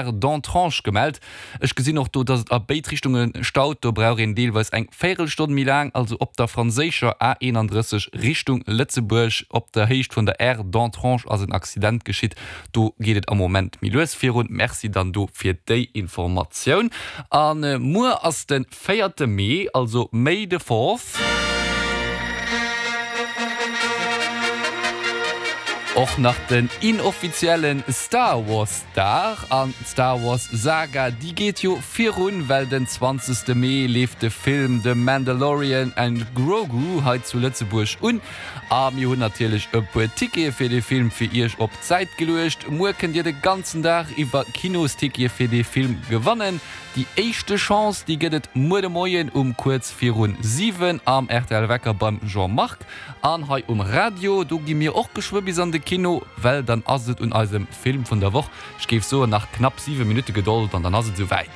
D'Entrange gemellt. Ech gesinn och do, dass et a béid Richtunge staut. Do brauch een deelweis eng Véierelstonn méi laang, also op der franséischer A31 Richtung Lëtzebuerg op der Héicht vun der Aire d'Entrange ass en Accident geschitt. Do geet et am Moment méi lues virun. Merci dann do fir déi Informatioun. A muer ass de véierte Mee, also May the Fourth. Och nach den inoffiziellen Star Wars Dag. An d'Star Wars Saga, déi geet jo virun, well den 20. Mee leeft de Film The Mandalorian and Grogu hei zu Lëtzebuerg un. A mir hunn natierlech e puer Tickete fir dee Film fir iech op d'Säit geluecht. Muer kënnt dir de ganzen Dag iwwer Kinostickete fir dee Film gewannen. Déi éischte Chance, déi gëtt et muer de Moien um kuerz virun 7 am rtl Wecker beim Jean-Marc. An hei um Radio, do gi mir och geschwë bis an de Kino, well dann ass et un eisem Film vun der Woch. Ech géif soen, nach knapp 7 Minutte Gedold an dann ass et esou wäit.